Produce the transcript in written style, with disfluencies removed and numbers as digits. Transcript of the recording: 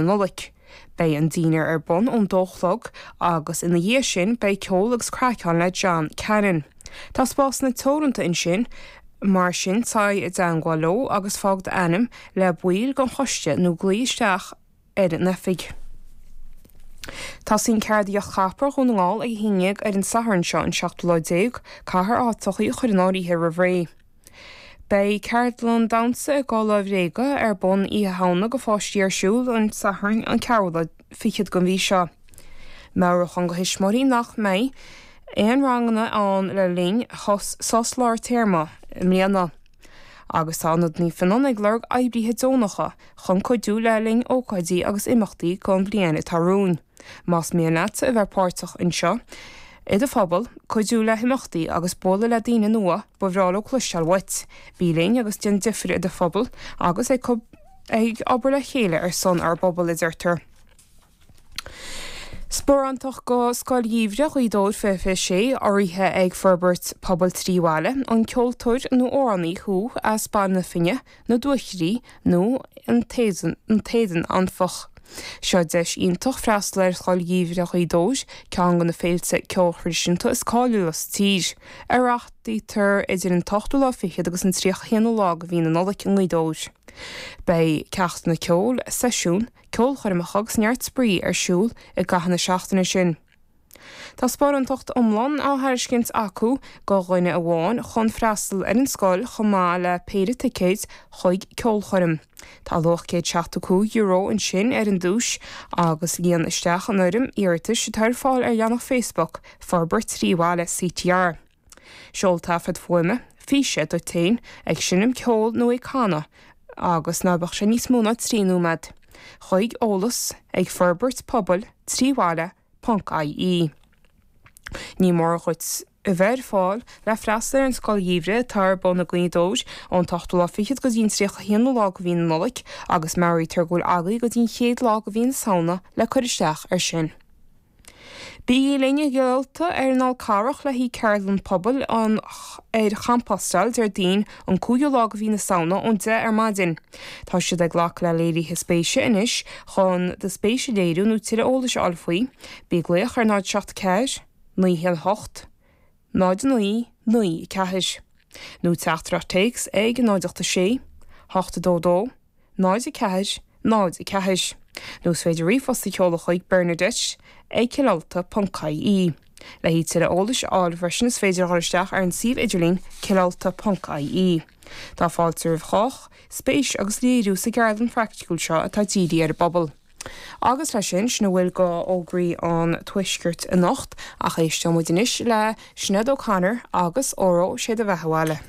Nollag. Beidh an dinnéar ar bun ón dó a chlog agus ina dhiaidh sin beidh ceol agus craic ann le John Cannon. Tá spásanna teoranta ansin, mar sin téigh i dteangmháil leo agus fág d'ainm le baill den choiste nó glaoigh isteach ar an oifig. Tosaíonn Ceardaíocht Chapra Dhún na nGall ag a haon dhéag ar an Satharn seo, an seachtú lá déag, caithfear áiteachaí a chur in áirithe roimh ré. Beidh ceardlann damhsa i gculaith bhréige ar bun Oíche Shamhna go pháistí ar siúl an Satharn an ceathrú lá fichead den mhí seo. Meabhrúchán go thuismitheoirí nach mbeidh aon ranganna ann le linn sos lár téarma i mbliana. Agus tá Ionad Naomh Fionnán ag lorg oibrithe deonacha chun cuidiú le linn ócáidí agus imeachtaí don bhliain atá romhainn. Más mian leat a bheith páirteach anseo i do phobal, cuidiú le himeachtaí agus bualadh le daoine nua, ba bhreá leo cloisteáil uait. Bí linn agus déan difear i do phobal agus ag ag obair le chéile ar son ár bpobal, a deirtear. Sparántacht go Scoil Gheimhridh Ghaoth Dobhair 2026, urraithe ag Forbairt Pobail 3 Bhaile, an ceoltóir nó amhránaí thú as Baile na Finne, na Dúchoraidh nó an tÉadan Anfach. Seo deis iontach freastal ar Scoil Gheimhridh Ghaoth Dobhair, ceann de na féilte ceoil thraidisiúnta is cáiliúla sa tír, a reáchtáiltear idir an t-ochtú lá fichead agus an 31 ú lá de mhí na Nollag i nGaoth Dobhair. Beidh ceachtanna ceoil, seisiúin, ceolchoirmeacha agus neart spraoi ar siúl i gcaitheamh na seachtaine sin. Tá sparántacht iomlán á thairiscint acu go dhuine amháin chun freastal ar an scoil chomh maith le péire ticéid chuig ceolchoirm. Tá luach €175 ansin ar an duais agus líon isteach an fhoirm iarratais atá ar fáil ar leathanach Facebook Forbairt 3 Bhaile CTR. Seol taifead fuaime, físe, duit féin ag seinm ceoil nó ag canadh agus ná beadh sé níos mó ná 3 nóiméad, chuig eolas ag forbairt pobail 3 bhaile ponc ie. Ní mór dhuit a bheith ar fáil le freastal ar an Scoil Gheimhridh atá ar bun i nGaoth Dobhair ón t-ochtú lá fichead go dtí an 31ú lá de mhí na Nollag agus meabhraítear go bhfuil agaibh go dtí an chéad lá de mhí na Samhna le cur isteach air sin. Bígí linn i gCill Ulta ar an Fhál Carrach le haghaidh ceardlann pobail an ar champostáil Déardaoin an 5ú lá de mhí na Samhna ón 10 ar maidin. Tá siad ag glacadh le léirithe spéise anois chun do spéis a léiriú nó tuilleadh eolais a fháil faoi. Bí ag glaoch ar 0 7 4 9 1 8 0 9 9 4 nó teachtaireacht téacs ag 0 8 6 8 2 2 0 4 0 4 Nó is féidir ríomhphost a sheoladh chuig Bernadette ag cillulta ponc ie. Le haghaidh tuilleadh eolais a fháil freisin is féidir a dhul isteach ar an suíomh idirlín cillulta ponc ie. Tá fáilte roimh chách, spéis agus léiriú sa gceardlann phraiticiúil seo atá dírithe ar an bpobal. Agus leis sin, sin a bhfuil go fhógraí an Tuaiscirt anocht, ach éisteoidh muid anois le Sinéad O'Connor agus Óró Sé do Bheatha Abhaile.